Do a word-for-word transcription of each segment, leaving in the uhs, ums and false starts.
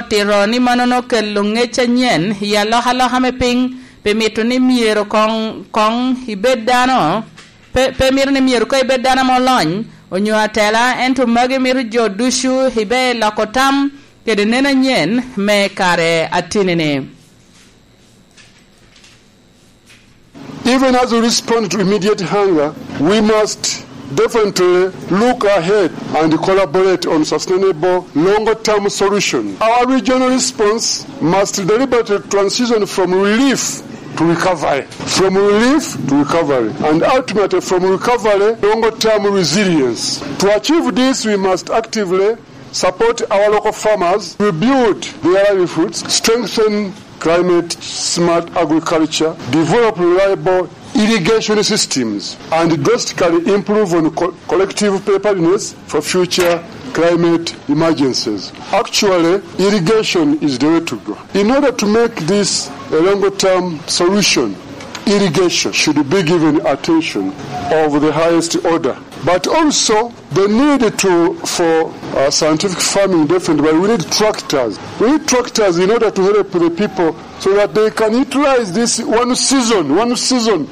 Tito ni mannono okelo ngec anyen i alokaloka me piny, pi mito ni myero koŋ, koŋ ibed dano, pe, pe mito ni myero koŋ ibed dano ame olony onyo atela, ento magi mito jo ducu ibe loko tam kede neno anyen me kare atini-ni. Even as we respond to immediate hunger, we must definitely look ahead and collaborate on sustainable longer-term solution. Our regional response must deliberately transition from relief to recovery, from relief to recovery, and ultimately from recovery, longer-term resilience. To achieve this, we must actively support our local farmers, rebuild their livelihoods, strengthen climate-smart agriculture, develop reliable irrigation systems, and drastically improve on co-, collective preparedness for future climate emergencies. Actually, irrigation is the way to go. In order to make this a longer-term solution, irrigation should be given attention of the highest order. But also, the need to, for, uh, scientific farming, definitely, but we need tractors. We need tractors in order to help the people so that they can utilize this one season, one season.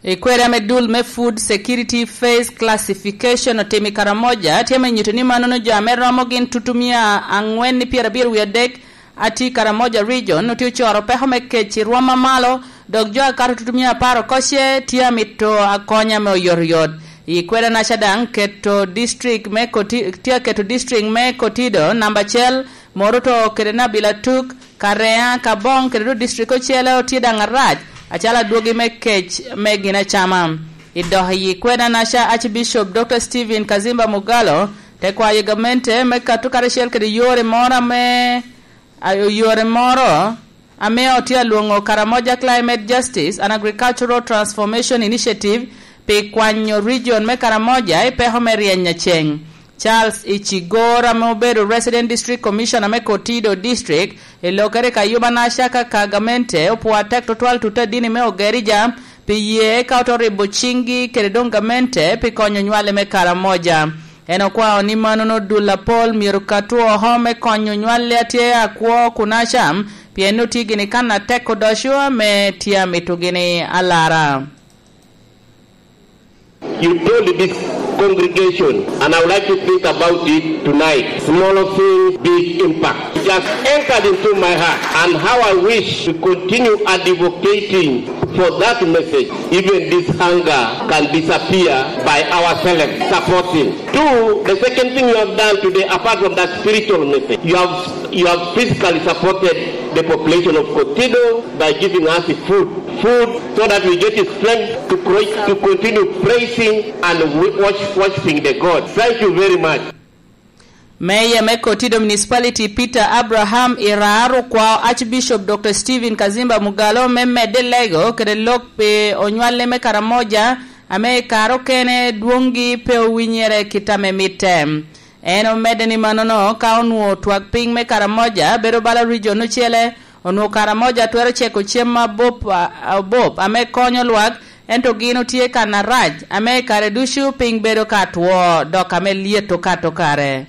I kwede ame dul me Food Security Phase Classification otimo i Karamoja, tye ame nyuto ni mannono jo ame romo gin tutumia aŋwen ni pyerabiro wie adek atye i Karamoja Region, otye ocoro peko me kec i rwom amalo, dok jo akato tutumia apar okoce tye amito akonya me oyotoyot. I kwede naca daŋ keto district me Koti-, tye aketo district me Kotido namba acel, Moroto kede Nabilatuk, Karea, Kabong kede duk district ocele otye daŋ arac, acalo adwogi me kec me gin acama. I dok i kwede naca, Archbishop Doctor Stephen Kazimba Mugallo te kwayo gamente me kato karacel kede yore moro ame a, yore moro ame otye alwoŋo Karamoja Climate Justice and Agricultural Transformation Initiative pi kwanyo region me Karamoja i peko me ryeny a ceŋ. Charles Ichigor ame obedo Resident District Commissioner me Kotido District i lokere ka yuba naca ka ka gamente opwo atek tutwal tutte adini me Ogerija pi ye ka oto ribo ciŋgi kede doŋ gamente pi konyo nywale me Karamoja. En okwao ni mannono dul apol myero katwu oko me konyo nywal a tye akwo kun acam, pien otye gini kan atek odoco ame tye amito gini alara. You told this congregation, and I would like to think about it tonight. Small things, big impact. It has entered into my heart, and how I wish to continue advocating for that message. Even this hunger can disappear by ourselves supporting. Two, the second thing you have done today, apart from that spiritual message, you have, you have physically supported the population of Kotido by giving us food, food so that we get the strength to, cro- to continue praising and wo- worship- worshiping the God. Thank you very much. Meya me Kotido Municipality, Peter Abraham Irar, okwao Archbishop Doctor Stephen Kazimba Mugallo me medde lego kede lok pi onywale me Karamoja, ame i kare okene dwoŋgi pe owinyere kit ame mitte. En omedde ni mannono, ka onwoŋo twak piny me Karamoja bedo bala region ocele, onwoŋo Karamoja twero ceko cem abop, a- abop ame konyo lwak, ento gin otye kan arac, ame i kare ducu piny bedo ka two, dok ame lyet okato kare.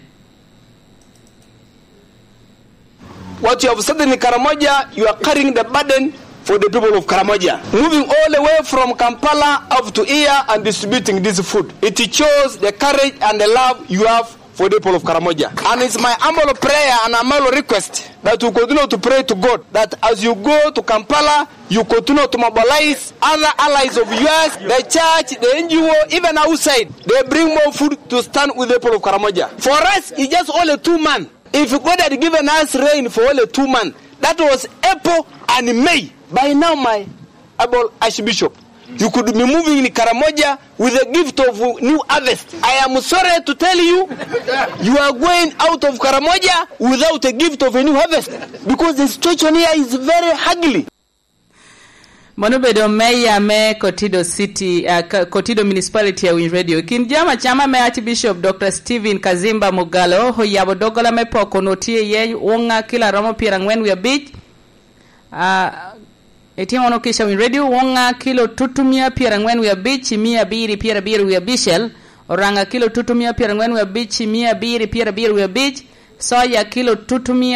What you have said in Karamoja, you are carrying the burden for the people of Karamoja. Moving all the way from Kampala up to here and distributing this food. It shows the courage and the love you have for the people of Karamoja. And it's my humble prayer and humble request that you continue to pray to God that as you go to Kampala, you continue to mobilize other allies of yours, the church, the N G O, even outside. They bring more food to stand with the people of Karamoja. For us, it's just only two months. If God had given us rain for only two months, that was April and May. By now, my able Archbishop, you could be moving in Karamoja with a gift of new harvest. I am sorry to tell you, you are going out of Karamoja without a gift of a new harvest because the situation here is very ugly. Mano obedo meya me Kotido City, uh, Kotido Municipality a Winy Radio. Kin jama cama me Archbishop Doctor Stephen Kazimba Mugallo oyabo doggola me poko no tye iye wonga kilo aromo pyerangwen wie abic. Uh, Itimo no kica Winy Radio, wonga kilo tutumia pyerangwen wie abic i mia abiri pyerabiro wie abicel, oranga kilo tutumia pyerangwen wie abic i mia abiri pyerabiro wie abic, soya kilo tutumia